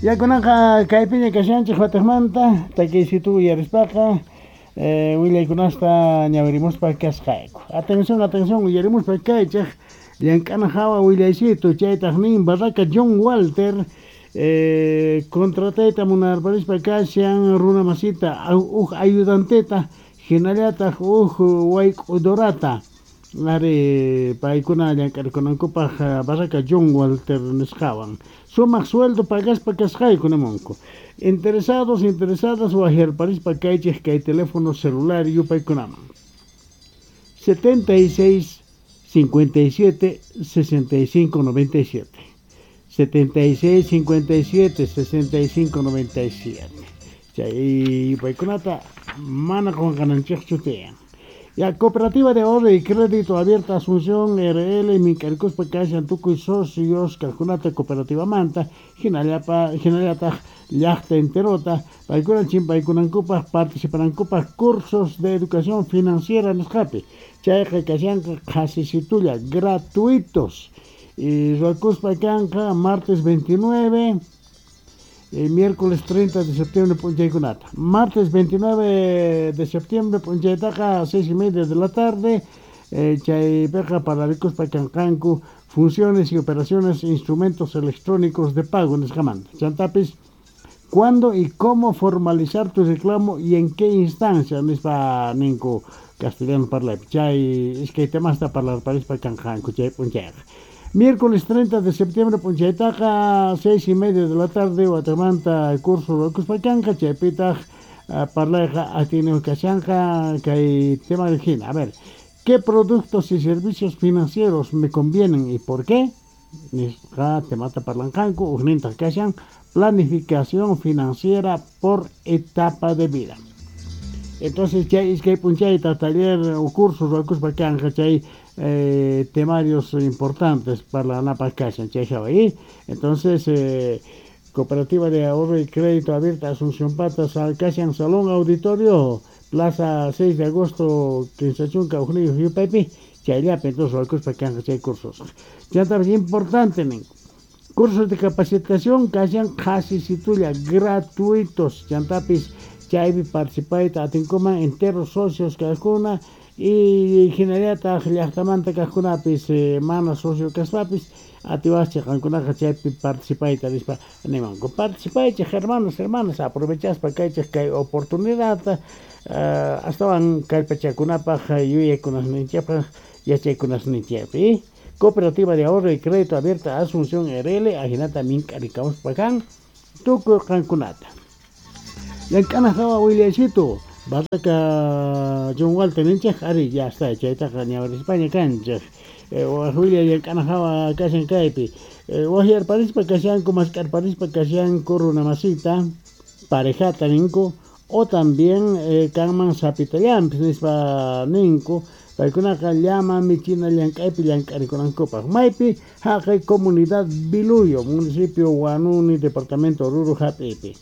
Ya kunanqa kaypiña kashanchej watejmanta takiysitu uyarispaqa willaykunasta ñawirimuspa kasqayku. Atención, atención, uyarimuspa kaychej llank'ana hawa willaysitu chaytaj nin Barraca John Walter contratayta munarparispa kashan runa masita uj ayudanteta jinallataj uj wayk'udorata ari paykuna llank'arikunankupaj Barraca John Walter nisqawan sumaq sueldo pagaspa kasqayku nimunku. Interesados, interesadas wajyarparispa kaychej kay teléfono celular yupaykunaman 76 57 65 97 76 57 65 97 chay yupaykunata mana qunqananchikchu tiyan. Ya Cooperativa de Ahorro y Crédito Abierta Asunción RL mink'arikuspa kashan tukuy socios kajkunata cooperativamanta jinallataj llaqta enterota paykuna chimpaykunankupaj participanankupaj cursos de educación financiera nisqapi chayqa kashanqa qhasisitulla gratuitos y ruwakuspa kanqa martes 29 miércoles 30 de septiembre p'unchaykunata. Martes 29 de septiembre p'unchaytaqa 6:30 de la tarde chaypiqa pararikuspa kanqanku funciones y operaciones instrumentos electrónicos de pago nisqamanta. Chantapis cuándo y cómo formalizar tu reclamo y en qué instancia nispa ninku castellano parlaypi chay iskay temasta parlarparispa kanqanku chay p'unchayqa. Miércoles 30 de septiembre p'unchaytaqa 6:30 de la tarde watamanta curso ruwakuspa kanqa chaypitaj parlayqa atiyniy kashanqa kay tema hina. A ver, ¿qué productos y servicios financieros me convienen y por qué? Nisqa temata parlanqanku ujnintaq kashan planificación financiera por etapa de vida. Entonces chay iskay p'unchayta taller o curso ruwakuspa kanqa chay temarios importantes para la kashan chay hawa. Entonces Cooperativa de Ahorro y Crédito Abierta Asunción Patas kashan Salón Auditorio Plaza 6 de Agosto Quinchachunka ujniyuq yupaypi chayllapi entonces ruwakuspa kanqa chay cursos. Chantapis importante nin cursos de capacitación kashan qhasisitulla gratuitos chantapis chaypi participayta atinkuman enteros socios kajkuna y jinallataq llaqtamanta kajkunapis mana socio kaspapis atiwaqchik qankunaqa chaypi participayta nispa nimanku. Participaychik hermanos, hermanas, aprovechaspa kaychik kay oportunidadta astawan kallpachakunapaj yuyaykunasninchikpaj yachaykunasninchikpi. Cooperativa de Ahorro y Crédito Abierta Asunción RL ajinata mink'arikamuspa kan tukuy qankunata. Llank'ana hawa willaysitu Barraca John Walter ninchej ari ya está chaytaqa ñawirispaña kanchej waj willay llank'ana hawa kashan kaypi wajyarparispa kashanku mask'arparispa kashanku runa masita parejata ninku o también kanman sapitallanpis nispa ninku paykunaqa llama michina llank'aypi llank'arikunankupaj maypi haqay comunidad Biluyo municipio Huanuni departamento Oruro hap'ipi.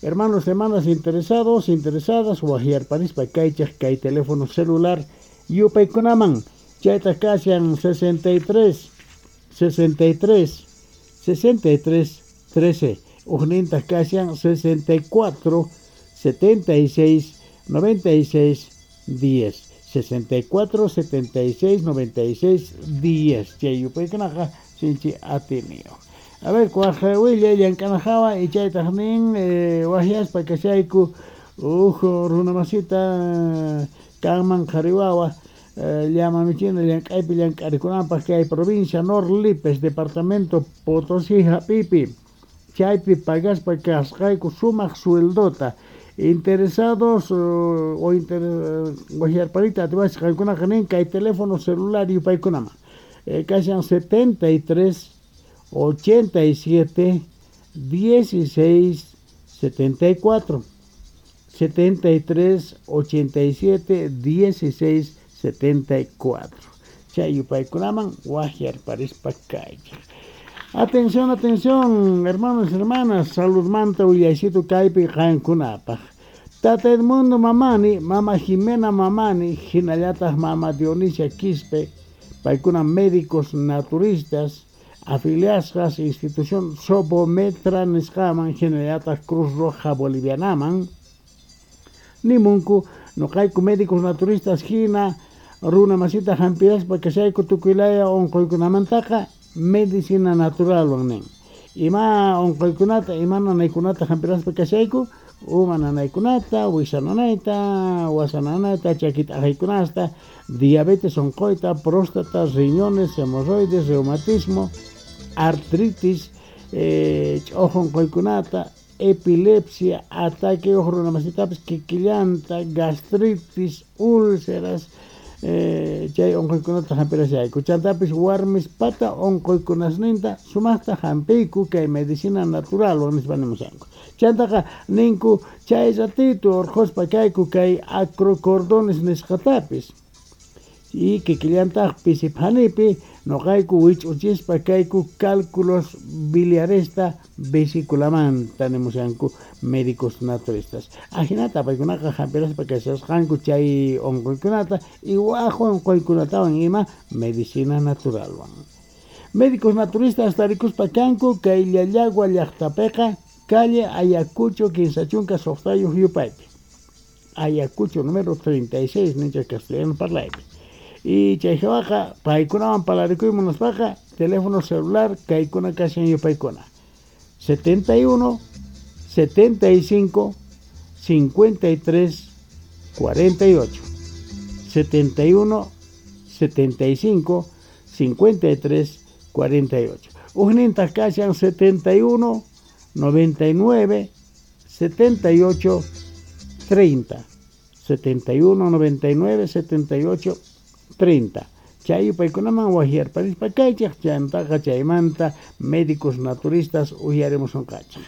Hermanos, hermanas interesados, interesadas, wajyarparispa kaychej kay teléfono celular yupaykunaman chayta kashan 63 63 63 13 ujnintaq kashan 64 76 96 10 64 76 96 10 chay yupaykunaqa sinchi atiniyuq. A ver, kuaj willay llank'ana hawa y chaytaj nin wajyaspa kashayku uj runa masita kanman qhari wawa llama michina llank'aypi llank'arikunanpaj kay provincia Norlipes departamento Potosí hap'ipi chaypi pagaspa kasqayku sumaq sueldota. Interesados o wajyarparita atiwachik qankunaqa nin kay teléfono celular yupaykunaman kashan 73 87 16 74 73 87 16 74 chay yupaykunaman wajyarparispa kaychik. Atención, atención, hermanos y hermanas, saludmanta willaysitu kaypi qankunapaj. Tata Edmundo Mamani, Mama Jimena Mamani, jinallataj Mama Dionisia Quispe, paykuna médicos naturistas, Afiliasqas institución Sobometra nisqaman hinallataq Cruz Roja Bolivianaman nimunku noqayku médicos naturistas hina runa masita hampiraspa kashayku tukuylaya unquykunamantaqa medicina naturalwan nin. Ima unquykunata, ima nanaykunata hampiraspa kashayku, uma nanaykunata, wisa nanayta, wasa nanayta, chakita aqaykunasta, diabetes unquyta, próstata, riñones, hemorroides, reumatismo, artritis, ch'uju unquykunata, epilepsia, ataque uj runa masitapis kikillanta, gastritis, úlceras, chay unquykunata hampirashayku. Chantapis warmispata unquykunasninta sumaqta hampiyku kay medicina naturalwan nispa nimushanku. Chantaqa ninku chay ratito urqhuspa kayku kay acrocordones nisqatapis. Y kikillantaq pisiphanipi noqayku wich'uchispa kayku cálculos biliaresta vesiculamanta nimushanku médicos naturistas. Ajinata paykunaqa hampiraspa kashasqanku chay unquykunata y waj unquykunatawan ima medicina naturalwan. Médicos naturistas tarikuspa kanku kay Llallagua llaqtapiqa calle Ayacucho 56 yupaypi. Ayacucho número 36 nincha castellano parlaypi. Y chay hawaqa paykunawan parlarikuy munaspaqa teléfono celular kaykuna kashan yupaykuna 71 75 53 48 71 75 53 48. Ujnintaq kashan 71 99 78 30 71 99 78 30. Chay yupaykunaman wajyarparispa kaychej chantaqa chaymanta médicos naturistas uyarimusunqachej.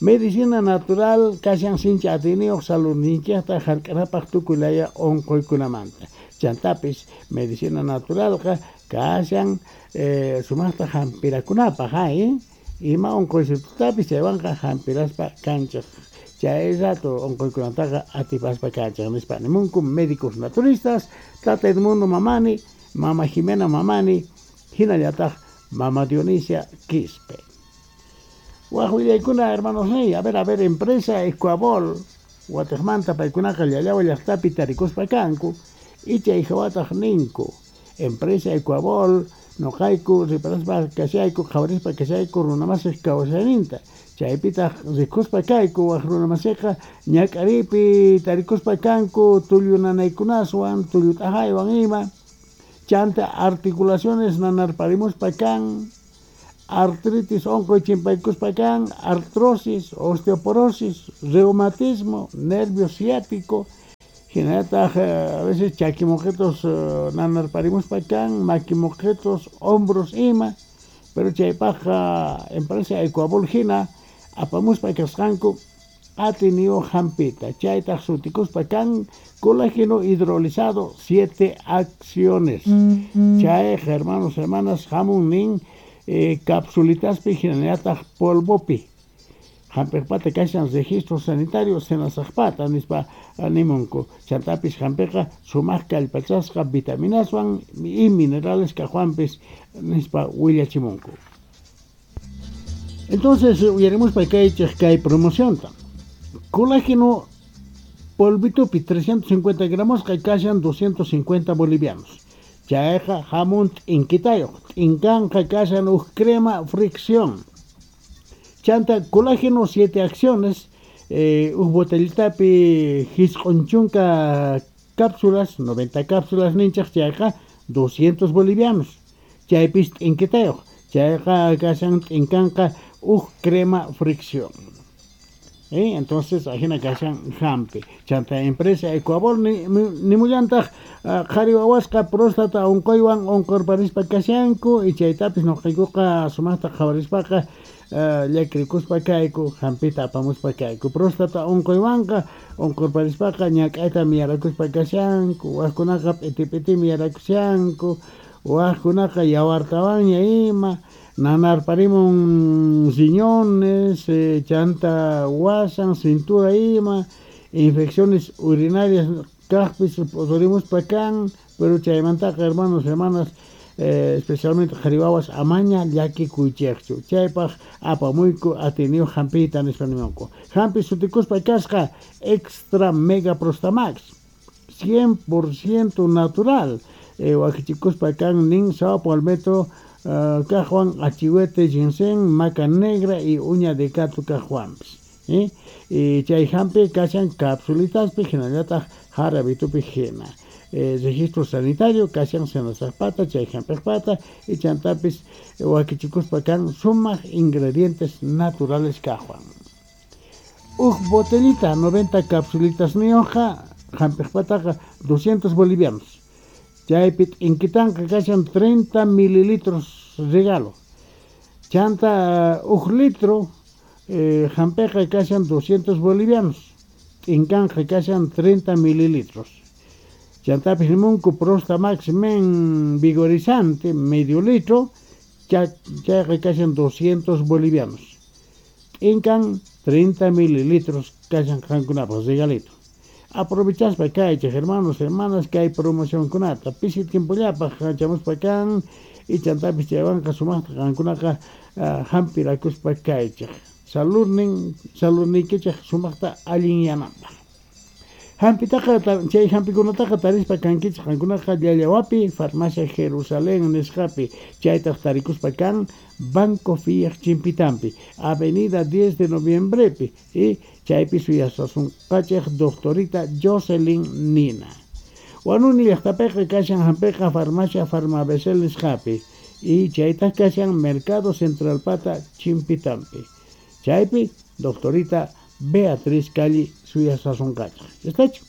Medicina natural kashan sincha atiyniyuq saludninchikta hark'anapaq tukuylaya unquykunamanta. Chantapis medicina naturalqa kashan sumaqta hampirakunapaq ima unquysitutapis chaywanqa hampiraspa kanchej. Chay rato unquykunataqa atipaspa kanchej nispa nimunku médicos naturistas Tata Edmundo Mamani, Mama Jimena Mamani, hinallataq Mama Dionisia Quispe. Waj willaykuna hermanos niy, a ver, empresa Ecuabol, watejmanta paykunaqa Llallagua llaqtapi tarikuspa kanku, y chay hawataq ninku, empresa Ecuabol, noqayku riparaspa kashayku, qhawarispa kashayku runamasij kawsayninta. Chaypitaq rikuspa kayku waj runamasiqa ñak'aripi tarikuspa kanku tullu nanaykunaswan, tullu t'ajaywan ima, chanta articulaciones nanarparimuspa kan, artritis unquy chimpaykuspa kan, artrosis, osteoporosis, reumatismo, nervio ciático, hinallataq a veces chakimoqetos nanarparimuspa kan, makimoqetos, hombros ima, pero chaypaqqa empresa Ecuabol hina apamuspa kasqanku atiyniyuq hampita, chaytaq sutikuspa kan colágeno hidrolizado 7 acciones. Chay hermanos, hermanas, hamun nin capsulitaspi hinallataq polvopi. Hampiqpata kashan registro sanitario senasaqpata nispa nimunku. Chantapis hampiqa sumaq kallpachasqa vitaminaswan y minerales kaqwanpis nispa willachimunku. Entonces uyarimuspa kaychej kay promocionta. Colágeno polvitupi 350 gramos kashan 250 bolivianos. Chayqa hamun t'inkitayuq, t'inkanqa kashan uj crema fricción. Chanta colágeno 7 acciones, uj botellitapi jisq'un chunka cápsulas, 90 cápsulas ninchaj chayqa 200 bolivianos. Chaypis t'inkitayuq, chayqa kashan t'inkanqa uj crema fricción. Entonces ajina kashan hampi. Chanta empresa Ecuabol nimullantaq qhari wawasqa próstata unquywan unqurparispa kashanku y chaytapis nuqaykuqa sumaqta qhawarispaqa llakirikuspa kayku hampita apamuspa kayku. Próstata unquywanqa unqurparispaqa ñak'ayta miyarakuspa kashanku, wajkunaqa p'iti p'iti miyarakushanku, wajkunaqa yawartawanña ima, nanarparimun riñones, chanta wasan, cintura ima, infecciones urinarias kaqpis p'uturimuspa kan, pero chaymantaqa hermanos, hermanas, Especialmente qhari wawas amaña llakikuychejchu. Chaypaj apamuyku atiyniyuq hampiyta nispa nimunku. Hampi sutikuspa kasqa Extra Mega Prostamax, 100% natural. Wakichikuspa kan nin sao palmetto kajwan, achihuete, ginseng, maca negra y uña de gato kajwanpis. Y chay hampi kashan capsulitaspi hinallataq jarabitupi hina. Registro sanitario kashan senasajpata, chay hampejpata y chantapis wakichikuspa kan sumaq ingredientes naturales kajwan. Uj botellita 90 capsulitas niyuqqa hampejpataqa 200 bolivianos. Chaypi t'inkitanqa kashan 30 mililitros regalo. Chanta uj litro hampeqa kashan 200 bolivianos. T'inkanqa kashan 30 mililitros. Chantapis nimunku Prostamax Men vigorizante medio litro, chayqa kashan 200 bolivianos. T'inkan 30 mililitros kashan qankunapaq regalito. Aprovechaspa kaychej hermanos, hermanas, kay promocionkunata pisi tiempollapaq chamuspa kan y chantapis chaywanqa sumaqta qankunaqa hampirakuspa kaychej. Saludniykichej sumaqta allinyananpaq. Hampitaqa chay hampikunataqa tarispa kankichej qankunaqa Llallawapi, Farmacia Jerusalén nisqapi, chaytaq tarikuspa kan Banco Fiat Chimpitampi, Avenida 10 de Noviembrepi, y chaypi suyasasunqachej doctorita Jocelyn Nina. Wanuni llaqtapiqa kashan hampiqa Farmacia Farmabesel nisqapi, y chaytaq kashan Mercado Central Pata Chimpitampi. Chaypi doctorita Beatriz Cali suyasasunqachej. ¿Está hecho?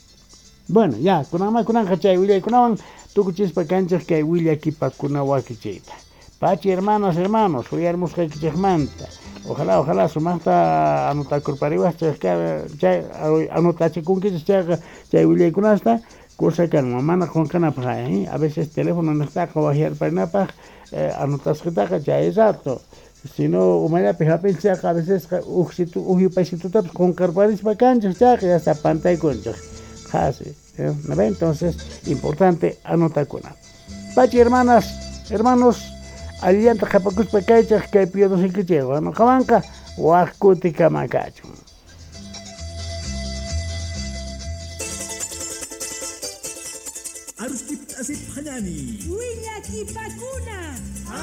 Bueno, ya, kunanma kunanja chay willaykunawan tukuchispa kanchej kay willakipakuna wakichiyta. Pachi hermanas, hermanos, uyarmusqaykichejmanta. Ojalá, ojalá sumaqta anotakurpariwajchej chay anotachikunkichej chayqa chay willaykunasta cosa kanman mana qunqanapaq, a veces teléfono niqtaqa wajyarparinapaq anotasqitaqa chay rato. Sino umallapi hap'inchikqa a veces uj yupaysitutapis qunqarparispa kanchej chayqa ya está pantaykunchej. Qhasi, ¿no ven? Entonces, importante anotakuna. Pachi hermanas, hermanos, allillanta qhapakuspa kaychej kay piyadusinkichej. Noqawanqa waj kutikama kachun. Arustip asip hanani. Willakipakuna.